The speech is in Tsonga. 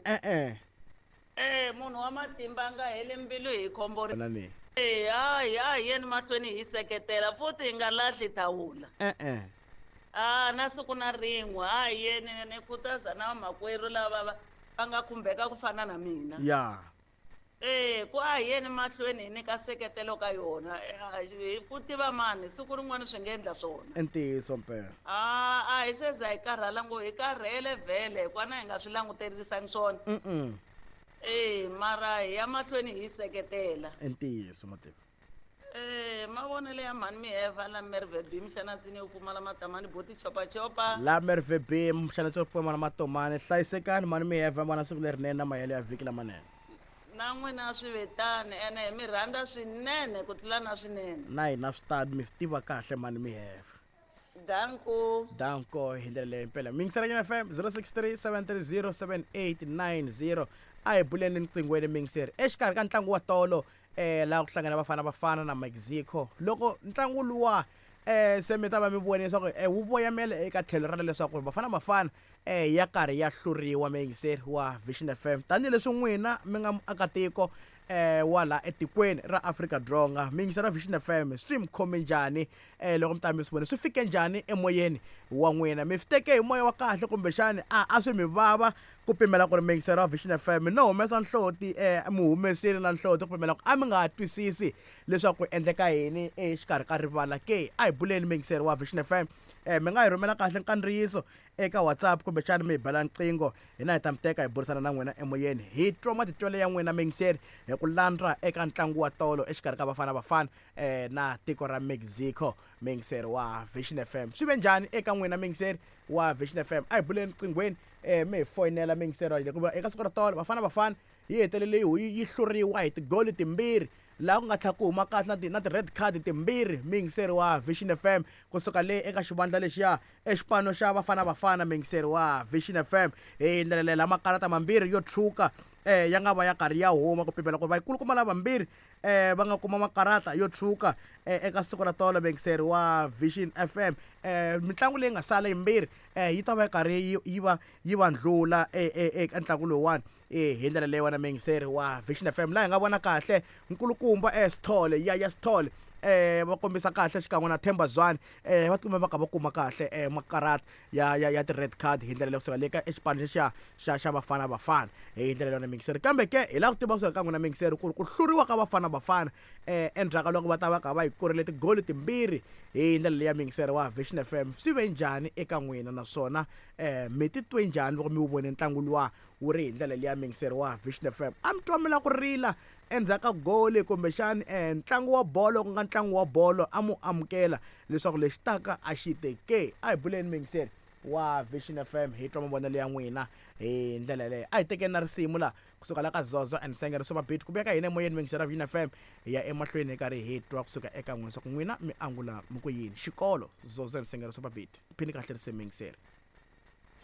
E-e. E munhu wa matimba a nga heli mbilu hi khombo ri. Na ni. E hayi a hi yeni mahlweni hi seketela futhi hi nga lahli thawula. E-e. A na siku na rin'we a hi yeni ni khutaza na vamakwerhu lava va va nga khumbeka ku fana na mina. Ya. E ku a hi yeni mahlweni hi nyika seketelo ka yona hi ku tiva mani siku rin'wana swi nga endla swona. I ntiyiso mpela. A a hi se za hi karhala ngo hi karhele vhele hikwana hi nga swi languterisangi swona. Mm. E mara hi ya mahlweni hi seketela. I ntiyiso mativa. E mavonelo ya mhani Miheva la Merve B mixanatsini yo pfumala matamani boti chopachopa. La Merve B mixanatsi yo pfumala matomani hlayisekani mhani Miheva vana siku lerinene na mahelo ya vhiki lamanene. Na n'wina swi vetani ene hi mi rhandza swinene ku tlula na swinene. Na hina swi tano mi swi tiva kahle mhani Miheva. Danko. Danko hi ndlela leyo impela. Mingisela FM 063 730 7890 a hi buleni nqinghweni mingiseri exikarhi ka ntlangu wa tolo laha ku hlangana Bafana Bafana na Mexico loko ntlangu luwa se mi ta va mi vone leswaku wu voyamela eka tlhelo ra leswaku Bafana Bafana ya karhi ya hluriwa muyingiseri wa Vision FM tanihileswi n'wina mi nga muakatiko wa laha etikweni ra Afrika-Dzonga muyingiseri wa Vision FM swi mi khome njhani loko mi ta mi swi vona swi fike njhani emoyeni wa n'wina mi swi teke hi moya wa kahle kumbexani a a swi mi vava ku pimela ku ri muyingiseri wa Vision FM no humesa nhloti mi humesile na nhloti ku pimela ku a mi nga twisisi leswaku ku endleka yini exikarhi ka rivala ke a hi buleni muyingiseri wa Vision FM mi nga hi rhumela kahle nkandziyiso eka WhatsApp kumbexana mi hi bela nqingho hina hi ta mi teka hi burisana na n'wina emoyeni hi twa matitwelo ya n'wina muyingiseri hi ku landza eka ntlangu wa tolo exikarhi ka Bafana Bafana na tiko ra Mexico muyingiseri wa Vision FM swi ve njhani eka n'wina muyingiseri wa Vision FM a hi buleni nqinghweni mi hi foyinela muyingiseri wa hikuva eka siku ra tolo Bafana Bafana yi hetelele yi hluriwa hi tigoli timbirhi laha ku nga tlhela ku huma kahle na ti na ti-red card timbirhi muyingiseri wa Vision FM kusuka le eka xivandla lexiya exipano xa Bafana Bafana muyingiseri wa Vision FM hi ndlela leyi lama makarata mambirhi yo tshuka ya nga va ya karhi ya huma ku pimela ku ri vakulukumba lavambirhi va nga kuma makarata yo tshuka eka siku ra tolo muyingiseri wa Vision FM mitlangu leyi nga sala yimbirhi yi ta va yi karhi yi va yi va ndlula eka ntlangu lowuwani hi ndlela leyiwani muyingiseri wa Vision FM laha hi nga vona kahle nkulukumba Sithole Yaya Sithole va kombisa kahle xikan'we na Themba Zwane va tikuma va kha va kuma kahle makarata ya ya ya ti-red card hi ndlela leyo kusuka le ka exipano lexiya xa xa Bafana Bafana hi ndlela leyo na muyingiseri kambe ke hi lava ku tiva kusuka ka n'wina muyingiseri ku ri ku hluriwa ka Bafana Bafana endzhaku ka loko va ta va kha va yi korile tigoli timbirhi hi ndlela leya muyingiseri wa Vision FM swi ve njhani eka n'wina naswona mi titwe njhani loko mi wu vone ntlangu luwa wu ri hi ndlela leya muyingiseri wa Vision FM a mi twa mi lava ku rila endzhaku ka goli kumbexani ntlangu wa bolo ku nga ntlangu wa bolo a mu amukela leswaku lexi taka a xi te ke a hi buleni muyingiseri wa Vision FM hi twa mavonelo ya n'wina hi ndlela yaleyo a hi tekeni na risimu la kusuka la ka Zozo and Sengere Super Beat ku vuya ka hina emoyeni muyingiseri wa Vision FM hi ya emahlweni hi karhi hi twa kusuka eka n'wina leswaku n'wina mi angula mi ku yini xikolo Zozo and Sengere Super Beat phini kahle risimu muyingiseri.